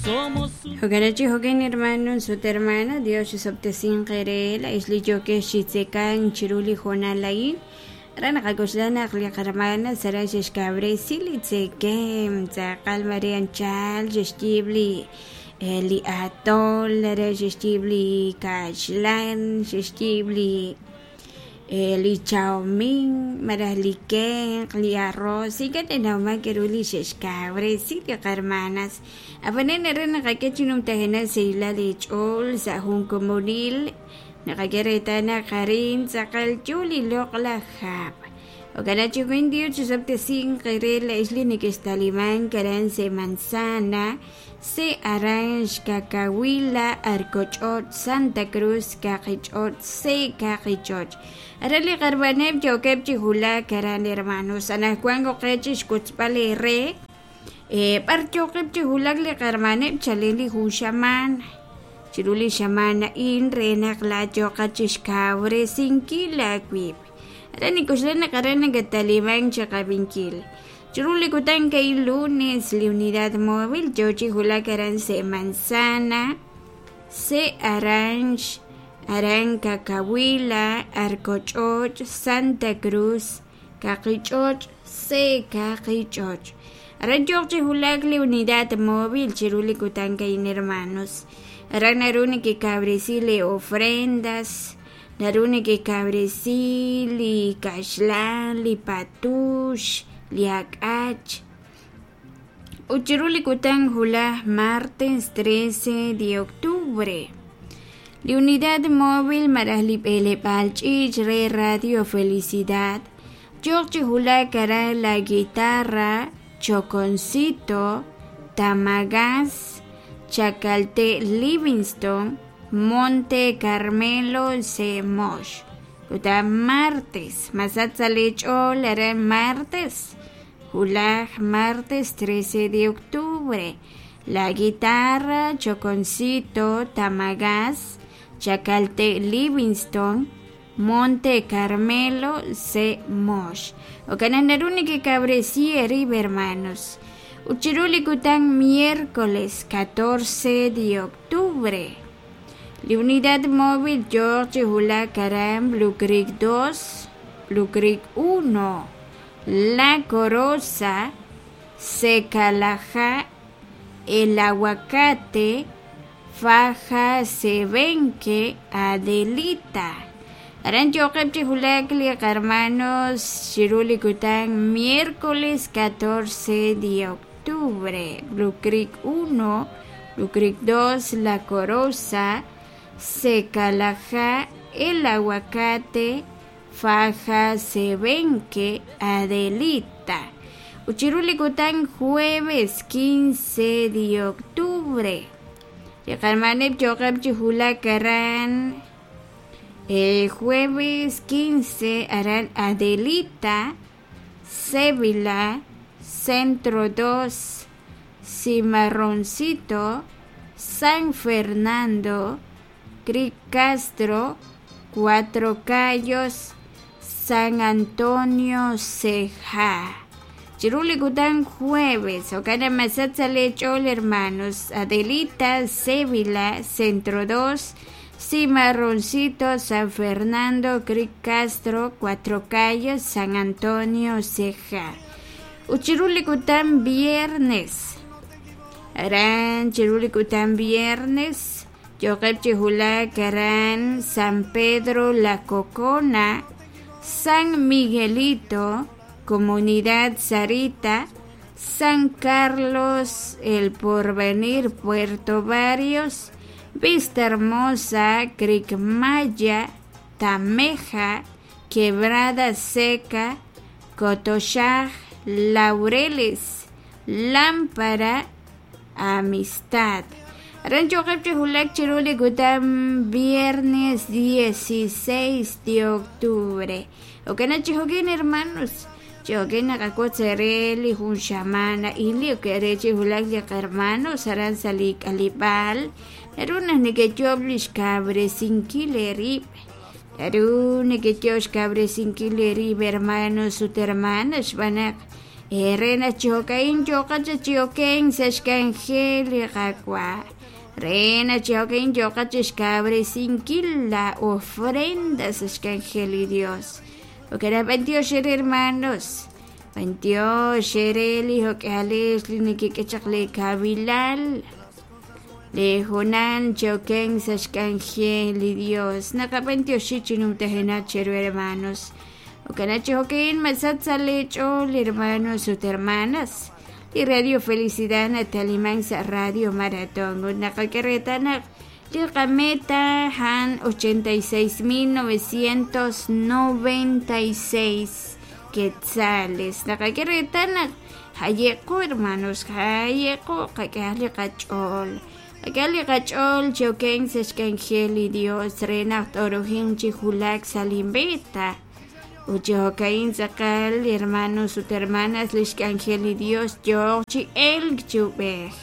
Somos Jo'kan chi jo'kan hermanos ut hermana, Dios chisob'tesinq eere laa'ex li yookex chi tzekank chiru li hoonal a'in. Aran naqak'oxla naq li qarmana sara xe'xkawresi li tzekem, tz'aqal mare anchal xe'xyiib' li li atol, are xe'xyiib' li kaxlan, xe'xyiib' li li chawmin, malaj li kenq', li arroz, ink'a' nanawman k'a'ru li xe'xkawresi li qarmanas. Ab'anan aran naqak'e chi numtajenaq sahilal li ch'ool sa' jun komonil, naqak'e reetal naq arin tz'aqal yo li loq'laj hab'. Jo'kan chi jo'kan Dios chisob'tesinq eere laa'ex li nekextalimank aran se' Manzana, se' Aranx, Cacahuila, Arcoch'och', Santa Cruz, Kaqich'och', se' Kaqich'och'. Aran li qarmaneb' yookeb' chi wulak aran hermanos, anaqwan oqe chi xwotzb'al eere b'ar yooqeb' chi wulak li qarmaneb' chalen li jun xamaan chiru li xamaan a'in re naq laayooqat chi xkawresinkil aawib'. Aran nink'oxla naq aran nakatalimank chi qab'inkil. Chiru li kutan a'in lunes li unidad móvil yoo chi wulak aran se' Manzana, se' Aranx, aran Cacahuila, Arcoch'och', Santa Cruz, Kaqich'och', se' Kaqich'och'. Aran yooq chi wulak li unidad móvil chiru li kutan a'in hermanos. Aran naru nekekawresi li ofrendas, naru nekekawresi li kaxlan, li patux, li ak'ach. Ut chiru li kutan wulaj martes 13 de octubre. Li unidad móvil malaj li b'eleb'aal ch'iich' re Radio Felicidad yooq chi wulak aran La Guitarra, Choconcito, Tamagas, Chacalte Livingston, Monte Carmelo, Semox. Kutan martes, masach sa' li ch'ool aran martes, wulaj martes 13 de octubre. La Guitarra, Choconcito, Tamagas, Chacalte Livingston, Monte Carmelo, Semox. Jo'kan naq naru nekekawresi eerib' hermanos. Ut chiru li kutan miércoles 14 de octubre. Li unidad móvil yooq chi wulak aran Blue Creek 2, Blue Creek 1, La Corosa, Secalaja, El Aguacate, Faja Sebenque, Adelita. Aran yooqeb' chi wulak li qarmanos chiru li kutan miércoles 14 de octubre. Blue Creek 1, Blue Creek 2, La Corosa, Secalaja, El Aguacate, Faja Sebenque, Adelita. Ut chiru li kutan jueves 15 de octubre. Li qarmaneb' yooqeb' chi wulak aran jueves 15 aran Adelita, Sevilla, Centro 2, Cimarroncito, San Fernando, Creek Castro, Cuatro Cayos, San Antonio Ceja. Chiru li kutan jueves, jo'kan naq masach sa' li ch'ool hermanos, Adelita, Sevilla, Centro 2, Cimarroncito, San Fernando, Creek Castro, Cuatro Cayos, San Antonio, Ceja. Ut chiru li kutan viernes, aran chiru li kutan viernes, yooqeb' chi wulak aran San Pedro La Cocona, San Miguelito, Comunidad Sarita, San Carlos, El Porvenir, Puerto Barrios, Vista Hermosa, Creek Maya, Tameja, Quebrada Seca, Cotochaj, Laureles, Lámpara, Amistad. Aran yooqeb' chi wulak chiru li kutan viernes 16 de octubre. Jo'kan chi jo'kan hermanos, chi jo'kan naqawotz eere li jun xamaan a'in li ok re chi wulak li qarmanos aran sa' li k'aleb'aal naru naq nekeyo'b li xkawresinkil eerib'. Naru nekeyo'b xkawresinkil eerib' hermanos ut hermanas xb'aan naq Re naq chi jo'ka'in yooqat chaq chi okenk sa' xk'anjel li Qaawa'. Re naq chi jo'ka'in yooqat chixkawresinkil la ofrenda sa' xk'anjel li Dios. Jo'kan naq b'antiox eere hermanos, b'antiox eere li jo'k'ihalex li nekek'e chaq lee kawilal, lee hoonal chi okenk sa' xk'anjel li Dios. Naqab'antioxi chi numtajenaq cheru hermanos. Jo'kan naq chi jo'ka'in masach sa' lee ch'ool hermanos ut hermanas. Li Radio Felicidad nataliman sa' Radio Maratón ut naqak'e reetal naq li qameta a'an 86,996 quetzales. Naqak'e reetal naq jaye'qo hermanos, jaye'qo qak'ehaq li qach'ool. Qak'ehaq li qach'ool chi okenk sa' xk'anjel li Dios re naq t'orojinq chi wulak sa' li meta. Ut chi jo'ka'in tz'aqal hermanos ut hermanas lix k'anjel li Dios yooq chi elk chi ub'ej.